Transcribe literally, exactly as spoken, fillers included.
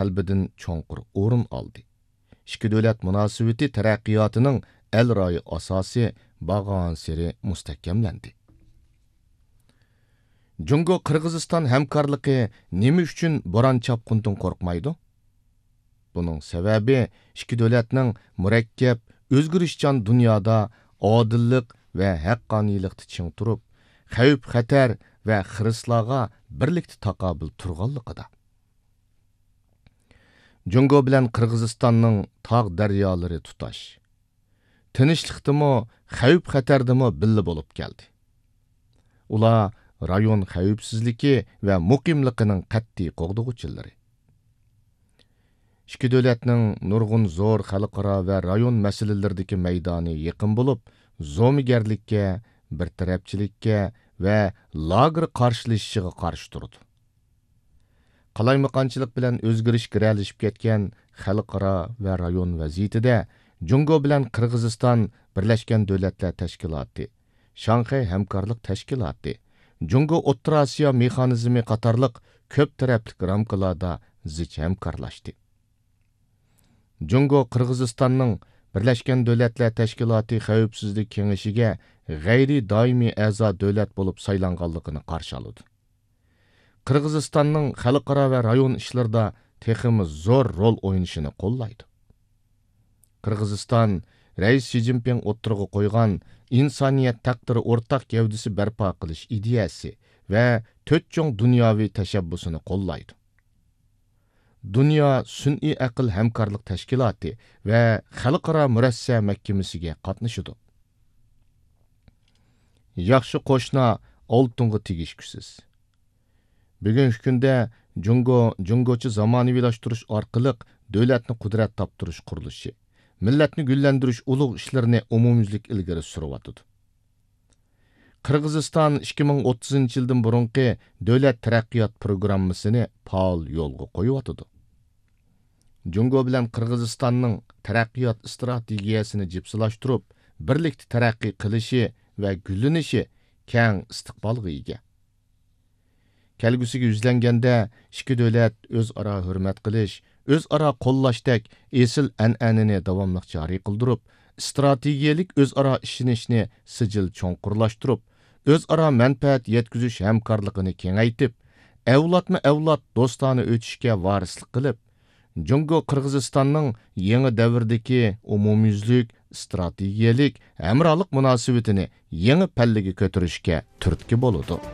قەلبىدىن چوڭقۇر ئورۇن ئالدى. ئىككى دۆلەت مۇناسىۋىتى تەرەققىياتىنىڭ ئەل رايى ئاساسى بارغانسېرى مۇستەھكەملەندى. جۇڭگو قىرغىزىستان ھەمكارلىقى نېمە ئۈچۈن بوران چاپقۇندىن قورقمايدۇ؟ بۇنىڭ سەۋەبى ئىككى دۆلەتنىڭ مۇرەككەپ، ئۆزگىرىشچان دۇنيادا ئادىللىق ۋە ھەققانىيلىقتا چىڭ تۇرۇپ، خەۋپ-خەتەر ۋە خىرىسلارغا بىرلىكتە تاقابىل تۇرغانلىقىدا. جۇڭگو بىلەن قىرغىزىستاننىڭ تاغ-دەريالىرى تۇتاش. تىنچلىقتىمۇ، خەۋپ-خەتەردىمۇ بىللە بولۇپ كەلدى. ئۇلار رايون خەۋپسىزلىكى ۋە مۇقىملىقىنىڭ قەتئىي قوغدىغۇچىلىرى. ئىككى دۆلەتنىڭ نۇرغۇن زور خەلقئارا ۋە رايون مەسىلىلىرىدىكى مەيدانى يېقىن بولۇپ، زومىگەرلىككە، بىر تەرەپچىلىككە ۋە لاگېر قارشىلىشىشىغا قارشى تۇرىدۇ. قالايمىقانچىلىق بىلەن ئۆزگىرىش گىرەلىشىپ كەتكەن خەلقئارا ۋە رايون ۋەزىيىتىدە جۇڭگو بىلەن قىرغىزىستان بىرلەشكەن دۆلەتلەر تەشكىلاتى، شاڭخەي ھەمكارلىق تەشكىلاتى، جۇڭگو ئوتتۇرا ئاسىيا مېخانىزمى قاتارلىق كۆپ تەرەپلىك رامكىلاردا زىچ ھەمكارلاشتى. جۇڭگو قىرغىزىستاننىڭ بىرلەشكەن دۆلەتلەر تەشكىلاتى خەۋپسىزلىك كېڭىشىگە غەيرىي دائىمىي ئەزا دۆلەت بولۇپ سايلانغانلىقىنى قارشى ئالىدۇ. قىرغىزىستاننىڭ خەلقئارا ۋە رايون ئىشلىرىدا تېخىمۇ زور رول ئوينىشىنى قوللايدۇ. قىرغىزىستان رەئىس شى جىنپىڭ ئوتتۇرىغا قويغان ئىنسانىيەت تەقدىرى ئورتاق گەۋدىسى بەرپا قىلىش ئىدىيەسى ۋە تۆت چوڭ دۇنياۋى تەشەببۇسىنى قوللايدۇ. دۇنيا سۈنئىي ئەقىل ھەمكارلىق تەشكىلاتى ۋە خەلقئارا مۇرەسسە مەھكىمىسىگە قاتنىشىدۇ. ياخشى قوشنا ئالتۇنغا تېگىشكۈسىز. بۈگۈنكى كۈندە جۇڭگو جۇڭگوچە زامانىۋىلاشتۇرۇش ئارقىلىق دۆلەتنى قۇدرەت تاپتۇرۇش قۇرۇلۇشى، مىللەتنى گۈللەندۈرۈش ئۇلۇغ ئىشلىرىنى ئومۇميۈزلۈك ئىلگىرى سۈرۈۋاتىدۇ. قىرغىزىستان ئىككى مىڭ ئوتتۇزىنچى يىلدىن بۇرۇنقى دۆلەت تەرەققىيات پروگراممىسىنى پائال يولغا قويۇۋاتىدۇ. جۇڭگو بىلەن قىرغىزىستاننىڭ تەرەققىيات ئىستراتېگىيەسىنى جىپسىلاشتۇرۇپ، بىرلىكتە تەرەققىي قىلىشى ۋە گۈللىنىشى كەڭ ئىستىقبالغا ئىگە. كەلگۈسىگە يۈزلەنگەندە، ئىككى دۆلەت ئۆزئارا ھۆرمەت قىلىش، ئۆزئارا قوللاشتەك ئېسىل ئەنئەنىنى داۋاملىق جارى قىلدۇرۇپ، ئىستراتېگىيەلىك ئۆزئارا ئىشىنىشنى سىجىل چوڭقۇرلاشتۇرۇپ، ئۆزئارا مەنپەئەت يەتكۈزۈش ھەمكارلىقىنى كېڭەيتىپ، ئەۋلادمۇ ئەۋلاد دوستانە ئۆتۈشكە ۋارىسلىق قىلىپ، جۇڭگو قىرغىزىستاننىڭ يېڭى دەۋردىكى ئومۇميۈزلۈك ئىستراتېگىيەلىك ھەمراھلىق مۇناسىۋىتىنى يېڭى پەللىگە كۆتۈرۈشكە تۈرتكە بولىدۇ.